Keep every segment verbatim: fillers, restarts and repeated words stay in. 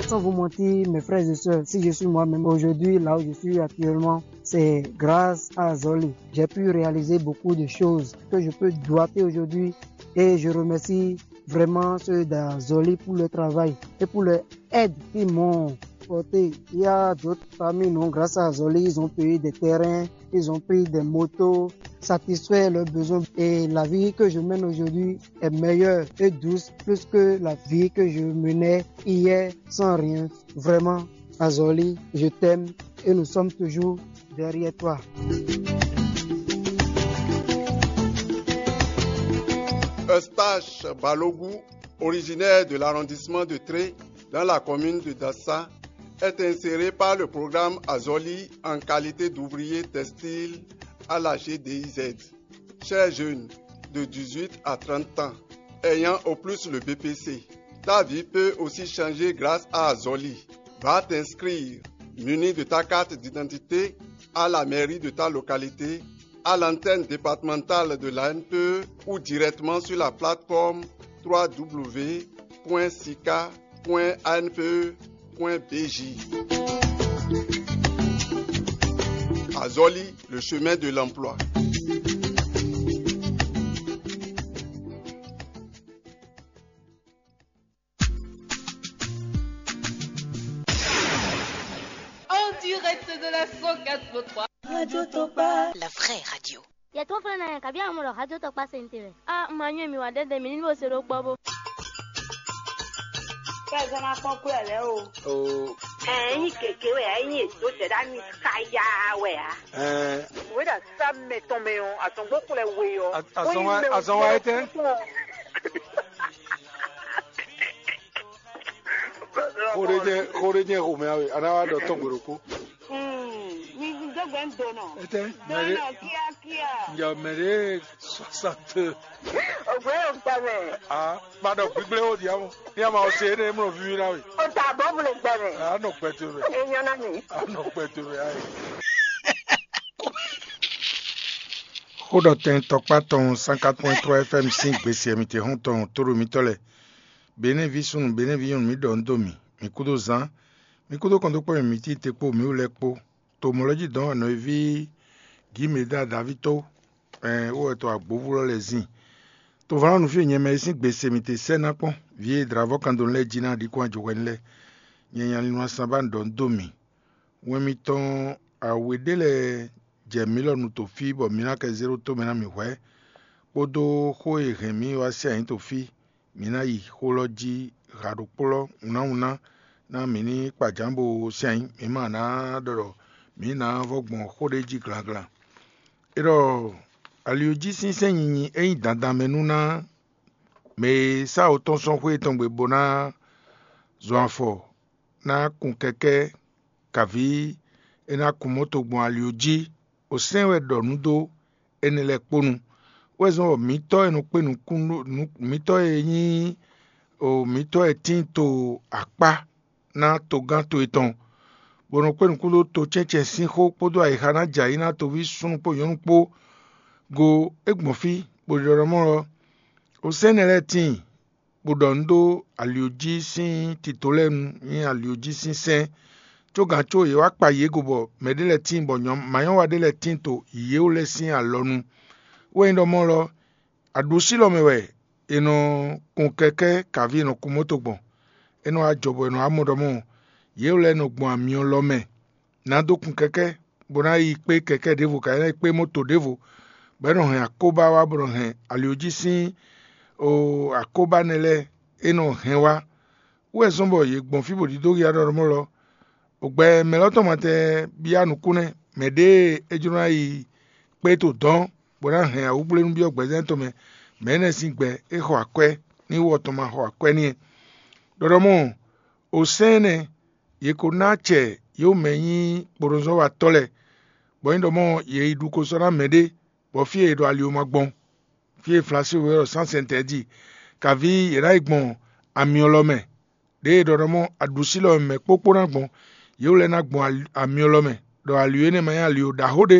Sans vous mentir, mes frères et sœurs, si je suis moi-même aujourd'hui, là où je suis actuellement, c'est grâce à Zoli. J'ai pu réaliser beaucoup de choses que je peux doiter aujourd'hui et je remercie vraiment ceux d'Azoli pour le travail et pour leur aide qu'ils m'ont porté. Il y a d'autres familles, non, grâce à Azoli, ils ont payé des terrains, ils ont pris des motos, satisfait leurs besoins. Et la vie que je mène aujourd'hui est meilleure et douce plus que la vie que je menais hier sans rien. Vraiment, Azoli, je t'aime et nous sommes toujours derrière toi. Eustache Balogu, originaire de l'arrondissement de Tré, dans la commune de Dassa, est inséré par le programme Azoli en qualité d'ouvrier textile à la G D I Z. Cher jeune de dix-huit à trente ans, ayant au plus le B P C, ta vie peut aussi changer grâce à Azoli. Va t'inscrire, muni de ta carte d'identité, à la mairie de ta localité, à l'antenne départementale de l'A N P E ou directement sur la plateforme trois W point sica point A N P E point B J. Azoli, le chemin de l'emploi. En direct de la cent quatre point trois. Radio Topa. La vraie radio. Yɛ tó flɛ́ ná yɛ kabi amɔ ɖɔ hajó tɔkpá se ntewɛ. A ma nyɔ́ mi wá ɖɛɖɛ mi ní bó se ɖó kpɔ́ bó. Kɛzɔn ma kpɔn kú ɛ lɛ o. Ɛɛ, ényí gěgé wɛ ényí èdó zɛ̌ ɖ'ayǐ káyá wɛ ǎ. Ɛɛ, Wěɖa sá mɛ tɔn mɛ ɔ, azɔngbó xlɛ we ɔ. Azɔn wa etɛ́? Xó ɖé jɛ xó ɖé jɛ xomɛ awe, a ná wá ɖɔ tɔn gbe ɖokpó. Mi dó gbɛ ń donɔ. Etɛ́? Donɔ kíákíá. Njɛ mɛ ɖé soixante. Ògbé yóò gbẹ mɛ. Ah, ma ɖɔ gbígbléwó diamo. Ní a ma ɔ se énɛ́ mlɔ víví ná we. O ta bɔ bolo gbɛ mɛ. A nɔ kpɛ towe mɛ. Enyɔ na mi. A nɔ kpɛ towe mɛ ayi. Xó ɖɔ tɛn tɔkpá tɔn cent quatre point trois F M sín gbèsè mì te xɔ́n tɔn tóɖo mitɔ́ lɛ. Benɛ́ví súnnu, benɛ́ví nyɔ̌nu, mǐ ɖɔ nǔ dó mì, mǐ kúdó zán, mǐ kúdó kɔn dó kpɔ́ mì mǐ tíin te kpó mǐ wú lɛ́ɛ kpó. To mɔ̌ lɛ́ jí dɔ̌n wɛ nɔ e ví Gǐmeda Daví tó, ɛn wó wɛ to agbǒvú lɔ lɛ́ɛ zin. To vǎn ɔ́ nǔ fí e nyɛ mɛ e sín gbe se mì te sɛ́ ná kpɔ́n, vǐ e dlǎvɔ́ kan dó lɛ́ɛ jí ná ɖi kɔn ajɔhwɛ lɛ́ɛ. Nyɛ nya lin wá san ba un ɖɔ nú dó mì. Wɛn mitɔn awe ɖé lɛ́ɛ jɛ mǐ lɔ nu to fí bɔ mǐ ná kɛ zé ɖó tó mɛ ná mì hwɛ̌, kpódó xó e hɛn mǐ wá sín ayǐ to fí, mǐ ná yi xó lɔ jí ha ɖokpó lɔ wunnáwunná ná mǐ ní kpa jǎn bo sín ayǐ, mǐ ma ná ɖɔ ɖɔ mǐ ná vɔ́ gbɔn xó ɖé jí glanglan. É ɖɔ ali ɔ́ jí sínsɛ́n nyinyi é nyí dandan mɛ nú ná mɛ e sá wǒ tɔn sɔ́ xwé tɔn gbe bó ná zɔn afɔ ná kun kɛkɛ́ kaví é ná kun mɔ́ to gbɔn ali ɔ́ jí. Osɛ́n wɛ ɖɔ nǔ dó énɛ́ lɛ́ɛ kpó nu. Wɛ zɔ́n bɔ mǐtɔ́ e nɔ kpé nukún mǐtɔ́ e nyí mǐtɔ́ e tíin to akpá ná togán to etɔn, bó nɔ kpé nukún dó to cɛ́ncɛ́n sín xó kpódó ayixa ná jɛ ayǐ ná toví súnnu kpó nyɔ̌nu kpó go é gbɔn fí, bó ɖiɖɔ ɖɔ mɔ́ ɔ́, osɛ́n énɛ́ lɛ́ɛ tíin, bó ɖɔ nǔ ɖó ali ɔ́ jí sín tito lɛ́ɛ nu nyí ali ɔ́ jí sín sɛ́n, có gǎn có yě wá kpa yě go bɔ mɛ ɖé lɛ́ɛ tíin bɔ manyɔ́wa ɖé lɛ́ɛ tíin to yě wú lɛ́ɛ sín alɔ nu. Wɛ nyí ɖɔ mɔ́ lɔ, aɖusí lɔ mɛ wɛ è nɔ kun kɛkɛ́ kaví è nɔ kun mɔ́to gbɔn. É nɔ wá jɔ bɔ è nɔ wá mɔ ɖɔ mɔ́, yě wú lɛ́ɛ nɔ gbɔn amyɔ lɔ mɛ ná dó kun kɛkɛ́, bó ná yi kpé kɛkɛ́ ɖěvo, ká ná yi kpé mɔ́to ɖěvo, bɔ é nɔ hɛn akóbá wá bó nɔ hɛn ali ɔ́ jí sín o akóbá nɛ́ lɛ́ɛ é nɔ hɛn wá. Wú wɛ zɔ́n bɔ yě gbɔn fí bó ɖidó ya ɖɔ mɔ́ lɔ. Ogbɛ mɛ lɔ́ tɔn ma tɛ byá nukúnnɛ́, mɛ ɖěe é jló ná yi kpé to dɔ̌n, bó ná hɛn awǔgblénu byɔ́ gbɛzɛ́n tɔn mɛ, mɛ énɛ́ sín gbɛ é xɔ akwɛ́, ní wú ɔ́ tɔn ma xɔ akwɛ́ n'i. Ɖɔɖɔmɔ, osɛ́n énɛ́, yě ko ná acɛ yě mɛ nyí kponɔzɔ́watɔ́ lɛ́ɛ, bɔ nyí ɖɔ mɔ yě yi ɖu ko sɔ́ ná mɛɖé, bɔ fí e è ɖo ali ɔ́ ma gbɔn, fí e Flasu wɛ ɖɔ sán sɛntɛɛ jí, kaví yě ná yi gbɔn amyɔ lɔ mɛ, ɖěe è ɖɔ ɖɔ mɔ aɖusí lɔ mɛ kpókpó ná gbɔn, yě wú lɛ́ɛ ná gbɔn amyɔ lɔ mɛ, ɖɔ ali énɛ́ ma nyí ali ɖaxó ɖé,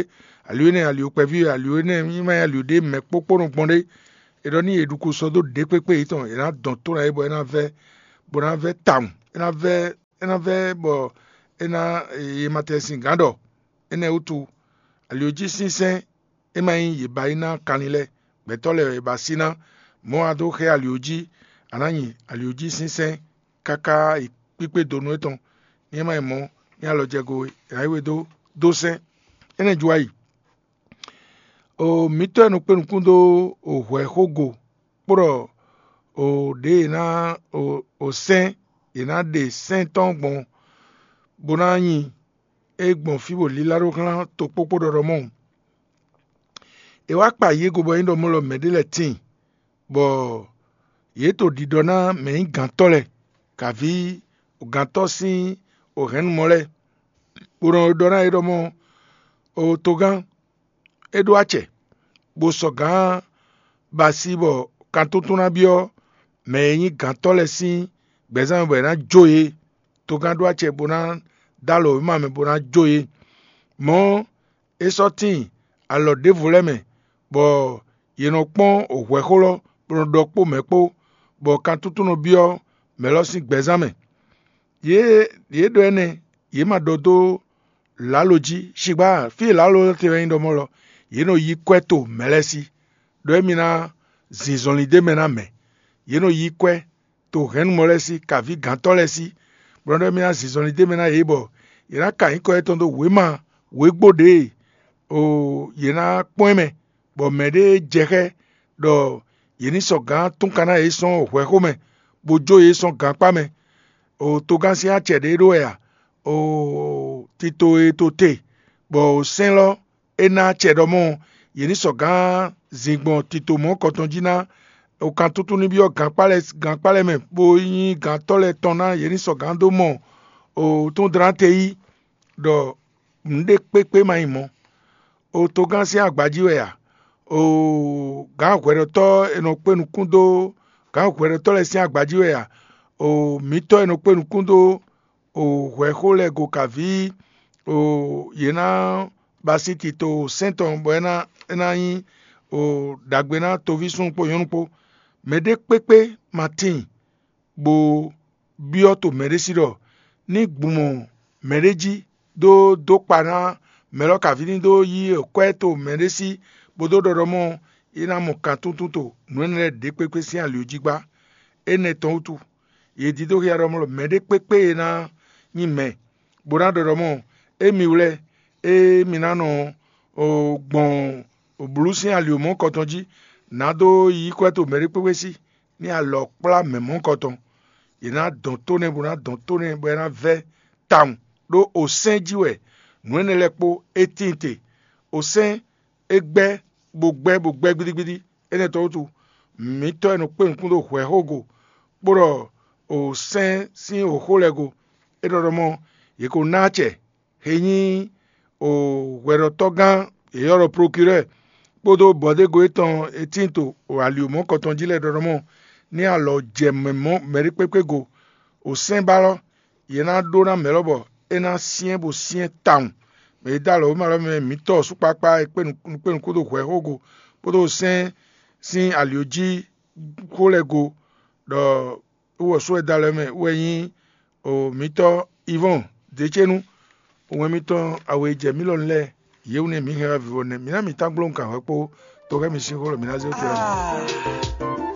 ali énɛ́ ali kpɛví wɛ, ali énɛ́ ma nyí ali ɖé mɛ kpókpó nɔ gbɔn ɖé. È ɖɔ nú yě ɖu ko sɔ́ dó ɖěkpékpé yětɔn, è nǎ dɔn tó ná é bɔ é ná vɛ́, bó ná vɛ́ tawun, é ná vɛ́ é ná vɛ́ bɔ é ná ye ma tɛ sin gǎn ɖɔ. Énɛ́ wútu, aliojí sínsɛ́n é ma nyí yě ba yi ná kanlin lɛ́ɛ, gbɛtɔ́ lɛ́ɛ wɛ è ba sí ná. Mɔ̌ a dó xɛ ali jí, a nǎ nyi ali jí sínsɛ́n káká yi kpíkpé donu étɔn, ní é ma nyí mɔ̌, ní alɔ jɛ go é ná yi we dó dó sɛ́n. Énɛ́ ju wá yi. O mǐtɔn e nɔ kpé nukún dó o hwɛ̌xógo kpó ɖɔ o ɖě e ná o sɛ́n, yě ná ɖe sɛ́n tɔn gbɔn bó ná nyi é gbɔn fí bó lílá ɖó xlán tokpókpó ɖɔɖɔ mɔ̌. È wá kpa yě go bɔ é nyí ɖɔ mɔ̌ lɔ mɛ̌ ɖé lɛ́ɛ tíin, bɔ yě to ɖiɖɔ ná mɛ nyí gǎntɔ́ lɛ́ɛ, kaví gǎntɔ́ sín o hɛ̌nnu mɔ lɛ́ɛ, bó nɔ ɖɔ ná yě ɖɔ mɔ̌, o togán, é ɖó acɛ, bó sɔ́ gǎn ba así bɔ kantótó ná byɔ́ mɛ e nyí gǎntɔ́ lɛ́ɛ sín gbɛzán mɛ bɔ è nǎ jó yě. Togán ɖó acɛ bó ná dó alɔ wěma mɛ bó ná jó yě. Mɔ̌ é sɔ́ tíin alɔ ɖěvo lɛ́ɛ mɛ, bɔ yě nɔ kpɔ́n hwɛ̌xó lɔ, bó nɔ ɖɔ kpó mɛ̌ kpó, bɔ kantótó nɔ byɔ́ mɛ̌ lɔ sín gbɛzán mɛ. Yě yě ɖɔ énɛ́, yě ma ɖɔ dó lǎlo jí. Xigbá fí e lǎlo lɛ́ɛ te wɛ nyí ɖɔ mɔ̌ lɔ, yě nɔ yí kwɛ́ to mɛ̌ lɛ́ɛ sí, ɖɔ émí ná zin zɔnlin d'é mɛ ná mɛ. Yě nɔ yí kwɛ́ to hɛ̌nnumɔ lɛ́ɛ sí, kaví gǎntɔ́ lɛ́ɛ sí, bó ná ɖɔ émí ná zin zɔnlin d'é mɛ ná yě, bɔ yě ná ka nyǐkɔ yětɔn dó wěma wěgbo ɖě e o yě ná kpɔ́n ɛ mɛ, bɔ mɛ̌ ɖé jɛ xá ɛ ɖɔ yě ní sɔ́ gǎn túnkan ná yě sɔ́n hwɛ̌xó mɛ, bó jó yě sɔ́n gankpá mɛ. O togán sín acɛ ɖě ɖó wɛ a? O tito e to te, bɔ o sɛ́n lɔ é ná acɛ ɖɔ mɔ̌, yě ní sɔ́ gǎn zin gbɔn tito mɔ̌ kɔtɔn jí ná. O kan tútú ní byɔ́ gankpá lɛ́ɛ gankpá lɛ́ɛ mɛ, bó nyí gǎntɔ́ lɛ́ɛ tɔn ná yě ní sɔ́ gǎn dó mɔ o tún dlán te yí, ɖɔ nǔɖé kpékpé ma nyí mɔ̌. O togán sín agba jí wɛ a? O gǎn hwɛɖɔtɔ́ e nɔ kpé nukún dó gǎn hwɛɖɔtɔ́ lɛ́ɛ sín agba jí wɛ a? O mǐtɔn e nɔ kpé nukún dó o hwɛ̌xó lɛ́ɛ go kaví o yě ná ba sí tito sɛ́n tɔn bɔ é ná é ná nyí o ɖagbe ná toví súnnu kpó nyɔ̌nu kpó. Mɛɖé kpékpé ma tíin bó byɔ́ to mɛɖé sí ɖɔ ní gbun mɔ mɛɖé jí dó dó kpa ná mɛ lɔ kaví ní dó yí kwɛ́ to mɛɖé sí, bó dó ɖɔ ɖɔ mɔ é ná mɔ kan túntún to nǔ énɛ́ lɛ́ɛ ɖě kpékpé sín ali jí gbá. Énɛ́ tɔn wútu, yě dídó xia ɖɔ mɔ mɛɖé kpékpé e ná nyí mɛ, bó ná ɖɔ ɖɔ mɔ émi wlɛ́, ée mi ná nɔ gbɔn blǔ sín ali mɔ̌ kɔtɔn jí, nǎ dó yí kwɛ́ to mɛɖé kpékpé sí, ní alɔ kplá mɛ mɔ̌ kɔtɔn. Yě ná dɔn tó nɛ́ bó ná dɔn tó nɛ́ bɔ é ná vɛ́ tawun, ɖó osɛ́n jí wɛ nǔ énɛ́ lɛ́ɛ kpó é tíin te. Osɛ́n é gbɛ́ bó gbɛ́ bó gbɛ́ gbídígbídí. Énɛ́ tɔn wútu, mǐtɔn e nɔ kpé nukún ɖo hwɛ̌xó go, kpó ɖɔ osɛ́n sín wǒxo lɛ́ɛ go, é ɖɔ ɖɔ mɔ yě ko ná acɛ he nyí hwɛɖɔtɔ́gán e ylɔ́ ɖɔ prokirɛ́ɛ kpódó bɔ̌dégo étɔn e tíin to ali mɔ̌ kɔtɔn jí lɛ́ɛ ɖɔɖɔmɔ ní alɔ jɛ mɛ mɔ̌ mɛɖékpékpé go. Osɛ́n ba lɔ, yě ná ɖó ná mɛ lɔbɔ é ná syɛ́n bó syɛ́n tawun. Mɛ e dó alɔ wěma lɔ mɛ mǐtɔn sukpakpa e kpé nukún dó hwɛ̌xógo kpódó osɛ́n sín ali jí xó lɛ́ɛ go, ɖɔ wú ɔ́ sú wɛ da lɛ́ mɛ wɛ nyí o mǐtɔn Ivɔ́n Decénu, wɛn mitɔn awe jɛ mǐ lɔ lɛ́ɛ, yě wú nɛ́ mǐ hɛn wá vivɔ nɛ́. Mǐ ná mǐ tán gbló nukǎnhwɛ kpó toxɛ́ mi sín xó lɔ mǐ ná zé wú.